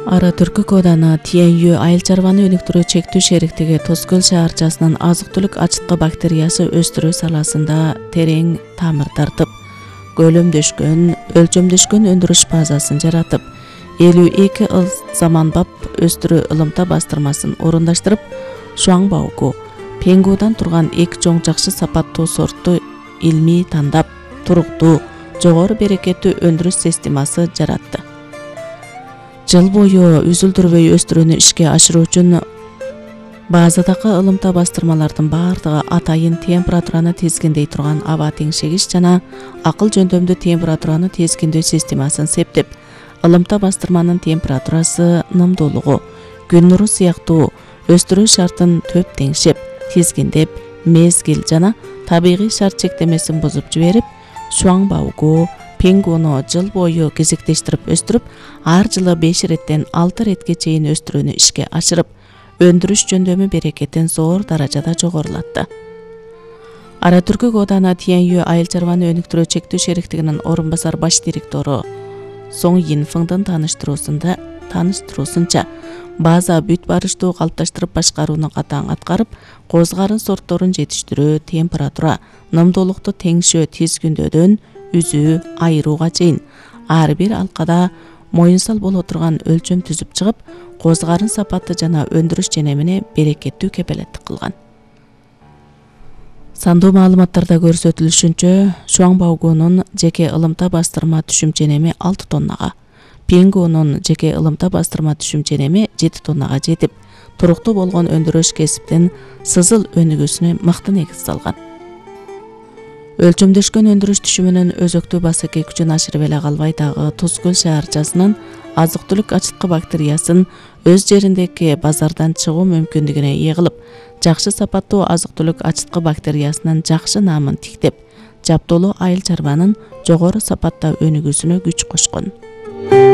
Ара Түркү Коданы Тиенью айыл чарбаны өнүктүрүү чектүү шериктиги Тоскөл шаарчасынын азык-түлүк ачыткы бактериясы өстүрүү саласында терең тамыр тартып, өлчөмдөшкөн өндүрүш базасын жаратып, 52 заманбап өстүрүү ылымта бастырмасын орундаштырып, Шуаңбаугу, Пенгудан турган эки чоң жакшы сапаттуу сортту илмий тандап, туруктуу, жогору берекеттүү өндүрүш системасы жаратты. Жыл бою үзүлдүрбөй өстүрүүнү ишке ашыруу үчүн базадагы ылымта бастырмалардын баардыгы атайын температураны тизгиндей турган аба теңшегич жана акыл жөндөмдүү температураны тизгиндөө системасын септеп, ылымта бастырманын температурасы, нымдуулугу, күн нуру сыяктуу өстүрүү шартын төп теңшеп, тизгиндеп, мезгил жана табигый шарт чектемесин бузуп жиберип, Шуаңбаугу, Пенгуну жыл бою кезектештирип өстүрүп, ар жылы 5 реттен 6 ретке чейин өстүрүүнү ишке ашырып, өндүрүш жөндөмү берекетин зор даражада жогорулатты. Ара Түркү Коданы Тиенью айыл чарбаны өнүктүрүү чектүү шериктигинин орун басар баш директору Соң Йинфыңдын тааныштыруусунча, база бүт барыштуу калыпташтырып башкарууну катаң аткарып, козгарын сортторун жетиштирүү, температура, нымдуулукту теңшөө тизгиндөөдөн үзүү, айырууга чейин ар бир алкада моюнсал боло турган өлчөм түзүп чыгып, козгарын сапаты жана өндүрүш женемине берекеттүү кепелеттик кылган. Сандуу маалыматтарда көрсөтүлүшүнчө, Шуаңбаугунун жеке ылымта бастырма түшүм женеми 6 тоннага, Пенгунун жеке ылымта бастырма түшүм женеми 7 тоннага жетип, туруктуу болгон өндүрүш кесиптин сызыл өнүгүүсүнө мыкты негиз салган. Өлчөмдөшкөн өндүрүш түшүмүнүн өзөктүү басаке күчүн ашырып эле калбай дагы Тоскөл шаарчасынын азык-түлүк ачыткы бактериясын өз жериндеги базардан чыгуу мүмкүндүгүнө ээ кылып, жакшы сапаттуу азык-түлүк ачыткы бактериясынын жакшы наамын тиктеп, жаптоолуу айыл чарбанын жогору сапатта өнүгүүсүнө күч кошкон.